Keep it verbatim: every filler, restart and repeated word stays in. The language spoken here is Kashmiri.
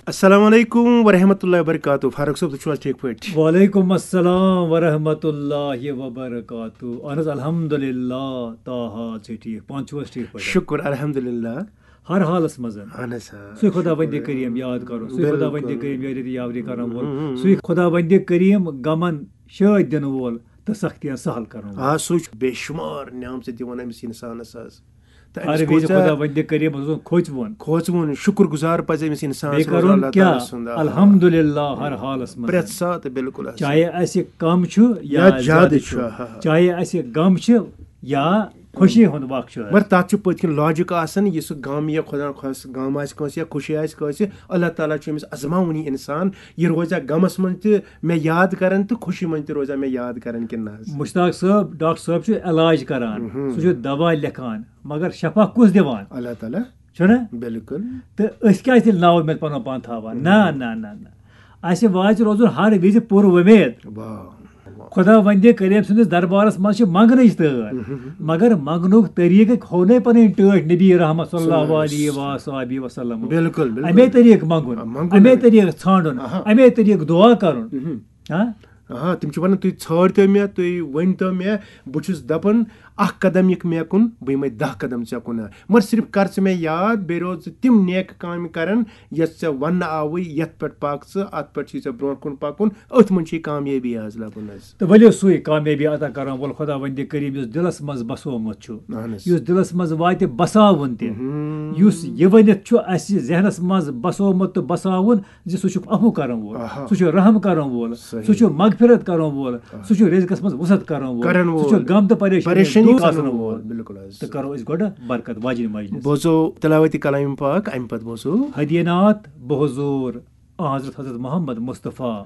السلام علیکم ورحمۃ اللہ وبرکاتہ۔ فاروق صٲب، تُہۍ چھِو حظ ٹھیٖک پٲٹھۍ؟ وعلیکم السلام ورحمۃ اللہ وبرکاتہ۔ اہن حظ، الحمدللہ، تاہا چھِ ٹھیٖک۔ پانہٕ چھِو حظ ٹھیٖک پٲٹھۍ؟ شُکُر الحمدللہ۔ ہر حالس منٛز۔ اہن حظ، آ۔ سُے خۄداوندِ کریم یاد کرُن، سُے خۄداوندِ بِلکُل۔ کریم یاد کرن وول، سُے خۄداوندِ کریم غمن شٲدۍ دِنہٕ وول تہٕ سختین سہل کرن وول۔ آ، سُے چھُ بے شُمار نعمژٕ دِوان أمِس اِنسانَس حظ۔ تہٕ ہر أمِس وِزِ کۭژاہ خۄداوندِ کریمس روزُن کھوژوُن۔ کھوژوُن، شُکُر گُزار پَزِ أمِس اِنسانَس بیٚیہِ روزُن کرُن اللہ کیٛاہ؟ تعالیٰ سُنٛد۔ آ۔ الحمدللہ ہر حالس منٛز۔ پرٛٮ۪تھ ساتہٕ، بِلکُل حظ۔ چاہے اسہِ کم چھُ یا یا زیادٕ زیادٕ چھُ، چھُ، ہا، ہا۔ چاہے اسہِ غم چھِ یا خوشی ہُنٛد وقت چھُ۔ مگر تَتھ چھُ پٔتۍ کِنۍ logic آسان، یُس سُہ غم یا خۄدا خۄش غم آسہِ کٲنٛسہِ یا خوشی آسہِ کٲنٛسہِ، اللہ تعالیٰ چھُ أمِس آزماوُن یہِ اِنسان، یہِ روزیٛا غمَس منٛز تہِ مےٚ یاد کران تہٕ خوشی منٛز تہِ روزیٛا مےٚ یاد کران کِنہٕ نہ حظ؟ مشتاق صٲب، ڈاکٹر صٲب چھُ علاج کران، سُہ چھُ دوا لیکھان، مگر شفا کُس دِوان؟ اللہ تعالیٰ۔ چھُنہ؟ بِلکُل۔ تہٕ أسۍ کیٛازِ تیٚلہِ ناوٕ مےٚ پنُن پان تھاوان؟ نہ، نہ، نہ، نہ۔ اسہِ واتہِ روزُن ہر وِزِ پُر وۄمید۔ واہ۔ خۄداوندِ کریم سٕنٛدِس دربارس منٛز چھِ منٛگنٕچ تٲر، مگر منٛگنُک طریٖقہٕ کھوٚو نَے پنٕنۍ ٹٲٹھۍ نبی رحمت صلی اللہ علیہ و صحبہ وسلم۔ بِلکُل، بِلکُل۔ اَمے طریٖقہٕ منٛگُن، آ، منٛگُن اَمے اَمے۔ طریٖقہٕ ژھانٛڈُن، آہا۔ اَمے طریٖقہٕ دُعا کرُن۔ ہاں؟ آ، تِم چھِ وَنان، "تُہۍ ژھٲنٛڈتو مےٚ، تُہۍ ؤنۍتو مےٚ، بہٕ چھُس دَپان، اَکھ قدم یِکھ مےٚ کُن، بہٕ یِمَے دَہ قدم ژےٚ کُن۔ مگر صرف کر ژٕ مےٚ یاد، بیٚیہِ روز ژٕ تِم نیک کامہِ کران، یۄس ژےٚ وَننہٕ آوٕے، یَتھ پٮ۪ٹھ پَکھ ژٕ، اَتھ پٮ۪ٹھ چھُے ژےٚ برونٛٹھ کُن پَکُن، أتھۍ منٛز چھُے کامیٲبی حٲصِل حظ۔" تہٕ ؤلِو سُے کامیٲبی عطا کرن وول خۄداوندِ کریم یُس دِلس منٛز بسومُت چھُ، اہن حظ۔ یُس دِلس منٛز واتہِ بساوُن تہِ، یُس یہِ ؤنِتھ چھُ اسہِ ذہنس منٛز بسومُت تہٕ بساوُن زِ سُہ چھُ عفو کرن وول، آہا۔ سُہ چھُ رحم کرن وول، صحیح۔ سُہ چھُ مغفرت کرن وول، سُہ چھُ رزقس منٛز وسعت کرن وول، کرن سُہ چھُ وول۔ غم تہٕ پریشٲنی پریشٲنی دور کرن کرن وول۔ وول۔ بِلکُل حظ۔ تہٕ کرو أسۍ گۄڈٕ برکت واجنہِ مجلس۔ بوزو تلاوت کلام پاک، امہِ پتہٕ بوزو۔ ہدینات بحضور آن حضرت حضرت محمد مصطفیٰ